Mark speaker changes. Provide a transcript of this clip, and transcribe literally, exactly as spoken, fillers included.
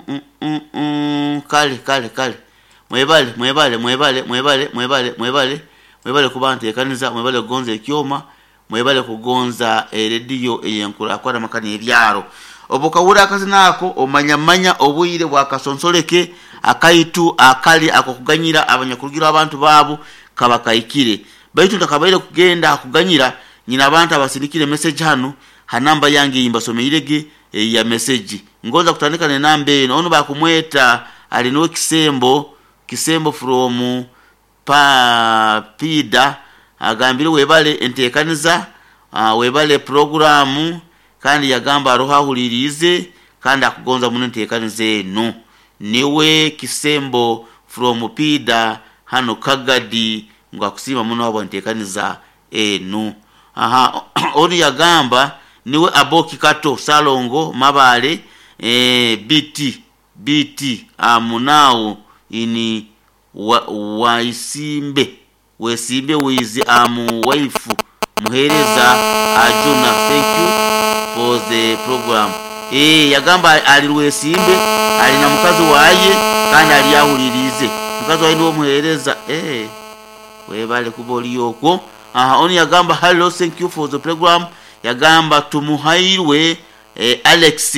Speaker 1: mm, mm, mm. Kale kale kale, mwebale, mwebale, mwebale, mwebale, mwebale, mwebale, mwebale kuba nteekaniza, mwebale kugonza ekyoma, mwebale kugonza erediyo eyenkurakurana amaka n'ebyaro. Obu okahurra akazina ako, omanya manya obwire bwakasonsoleke akaitu akali ak'okuganyira abanyakurugirwa abantu baabo kaba kahikire. Baitu ntakabaire kugenda hakuganyira, nyina abantu abasindikire message hanu ha namba yange eyimbasomeirege eya message. Ngonza kutandika n'enamba enu. Onu bakumweta ali nuwe Kisembo, Kisembo from pa Pida, agambire webale enteekaniza, uh, webale programu, kandi yagamba aroho ahuliriize kandi akugonza muno enteekaniza enu. Niwe Kisembo from Pida hano Kagadi, ngu akusiima muno habwa nteekaniza enu. Aha, onu yagamba niwe Aboki Kato Salongo Mabale, eh, B T B T amunao ini wa, waisimbe wesimbe wizi amu waifu muhereza Ajuna, thank you for the program. eh yagamba ali Rwesimbe, ali na mukazi waye kandi ali ahulirize mukazi waye niwe muhereza. eh webale kuba oli okwo. Aha, onu yagamba, "Hello, thank you for the program." Yagamba tumuhairwe eh, Alex.